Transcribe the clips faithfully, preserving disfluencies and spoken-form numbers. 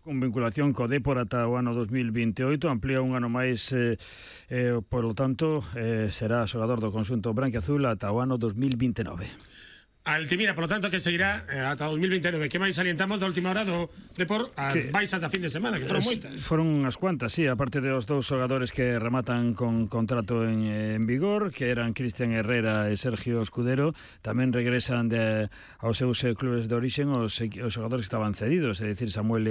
Con vinculación co Dépor ata o ano dos mil vinte e oito, amplía un ano máis, eh, eh, polo tanto, eh, será xogador do conxunto branquiazul ata o ano dos mil vinte e nove. Altimira, por lo tanto, que seguirá eh, ata dos mil vinte e nove. Que máis salientamos da última hora do Dépor as que, baixas da fin de semana, que foron moitas. Foron unhas cuantas, sí, aparte dos dous xogadores que rematan con contrato en, en vigor, que eran Cristian Herrera e Sergio Escudero, tamén regresan de, aos seus clubes de orixen os, os xogadores que estaban cedidos, é dicir, Samuel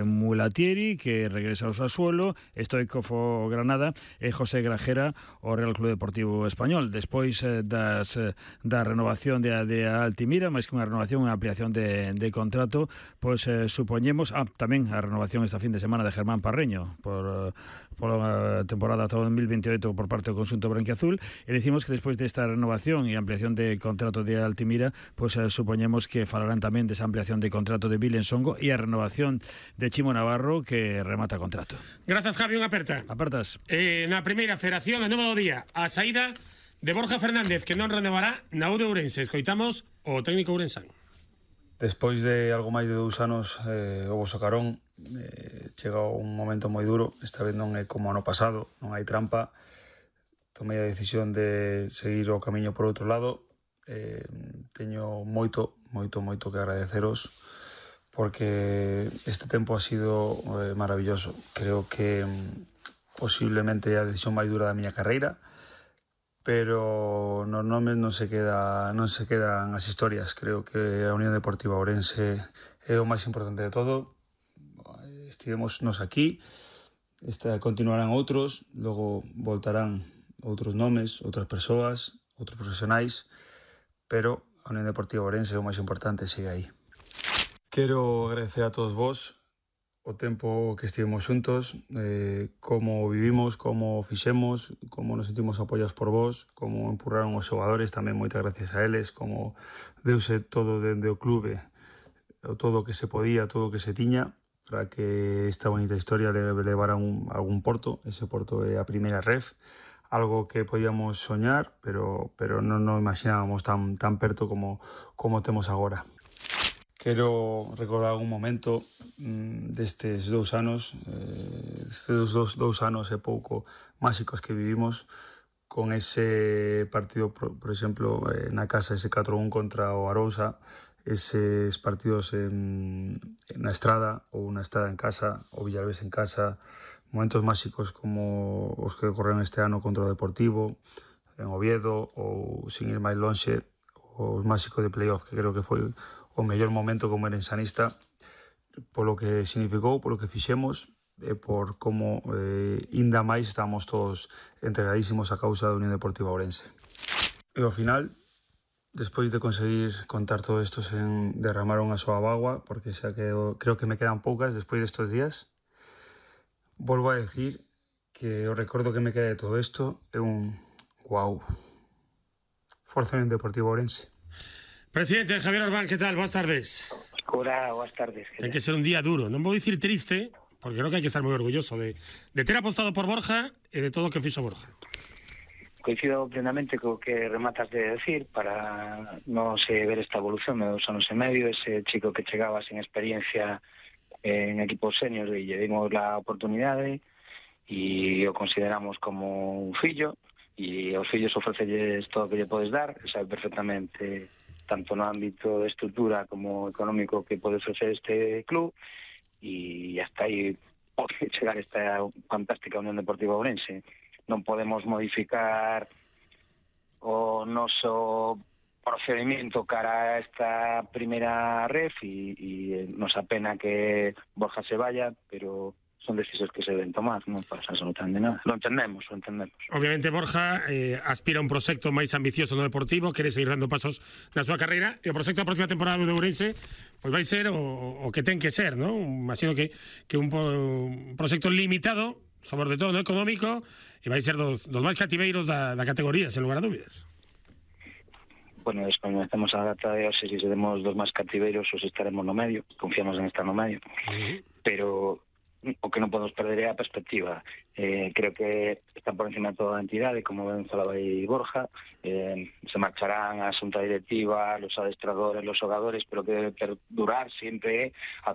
Mulatieri, que regresa ao Sassuolo, Stoikov ao Granada e José Grajera ao Real Club Deportivo Español. Despois eh, das, da renovación de, de a Altimira, máis que unha renovación, unha ampliación de, de contrato, pois eh, supoñemos, ah, tamén a renovación esta fin de semana de Germán Parreño por, por a temporada ata dos mil vinte e oito por parte do conxunto branquiazul, e decimos que despois desta renovación e ampliación de contrato de Altimira, pois eh, supoñemos que falarán tamén desa ampliación de contrato de Vilen Songo e a renovación de Chimo Navarro, que remata contrato. Grazas, Javi, unha aperta. Apertas. Eh, na primeira federación, a nova do día, a saída de Borja Fernández, que non renovará na U de Ourense. Escoitamos o técnico ourensán. Despois de algo máis de dous anos eh, o Bosacarón eh, chega un momento moi duro. Esta vez non é como ano pasado, non hai trampa. Tomei a decisión de seguir o camiño por outro lado. eh, Teño moito, moito, moito que agradeceros, porque este tempo ha sido eh, maravilloso. Creo que mm, posiblemente a decisión máis dura da miña carreira, pero nos nomes non se queda non se quedan as historias. Creo que a Unión Deportiva Ourense é o máis importante de todo. Estivemos nos aquí, esta, continuarán outros, logo voltarán outros nomes, outras persoas, outros profesionais, pero a Unión Deportiva Ourense é o máis importante, sigue aí. Quero agradecer a todos vos o tempo que estivemos xuntos, eh, como vivimos, como fixemos, como nos sentimos apoiados por vos, como empurraron os xogadores, tamén moitas gracias a eles, como deuse todo dende o clube, todo o que se podía, todo o que se tiña, para que esta bonita historia le levara un, algún porto. Ese porto é a primeira ref, algo que podíamos soñar, pero, pero non nos imaginábamos tan, tan perto como, como temos agora. Quero recordar algún momento mmm, destes dous anos, eh, destes dous, dous anos e pouco máxicos que vivimos, con ese partido, por, por exemplo, eh, na casa, ese catro a un contra o Arousa, eses partidos en, na Estrada, ou na Estrada en casa, ou Villalbés en casa, momentos máxicos como os que ocorreron este ano contra o Deportivo, en Oviedo, ou sin ir máis lonxe, os máxicos de playoff, que creo que foi o mellor momento como erensanista, polo que significou, polo que fixemos, e por como eh, inda máis estamos todos entregadísimos á causa da Unión Deportiva Ourense. E ao final, despois de conseguir contar todo isto sen derramar unha soa bagua, porque xa que eu, creo que me quedan poucas despois destes días, volvo a decir que o recordo que me queda de todo isto é un guau. Forza Unión Deportiva Ourense. Presidente Javier Orbán, ¿qué tal? Buenas tardes. Hola, buenas tardes. Ten que ser un día duro, non vou dicir triste, porque creo que hai que estar moi orgulloso de, de ter apostado por Borja e de todo o que fixo Borja. Coincido plenamente co que rematas de decir, para non se ver esta evolución de dos anos e medio, ese chico que chegaba sin experiencia en equipos seniors e lle dimos la oportunidade e o consideramos como un fillo, e aos fillos ofrecelles todo o que lle podes dar, sabe perfectamente tanto no ámbito de estrutura como económico que pode ofrecer este club, e hasta aí pode chegar esta fantástica Unión Deportiva Ourense. Non podemos modificar o noso procedimento cara a esta primeira ref e, e nos apena que Borja se vaya, pero son decisións que se deben tomar, non pasa absolutamente nada. Lo entendemos, lo entendemos. Obviamente Borja eh, aspira a un proxecto máis ambicioso no Deportivo, quere seguir dando pasos na súa carreira, e o proxecto da próxima temporada do Ourense pois vai ser o, o que ten que ser, non? Imagino que, que un, un proxecto limitado, sobre todo no económico, e vai ser dos, dos máis cativeiros da, da categoría, sen lugar a dúbidas. Bueno, desconocemos a data de hoxe, se seremos dos máis cativeiros, os estaremos no medio, confiamos en estar no medio, uh-huh. Pero o que non podemos perder é a perspectiva. Eh, creo que está por encima de toda a entidade, como ben falaba aí Borja, eh, se marcharán a xunta directiva, los adestradores, los xogadores, pero que debe perdurar sempre a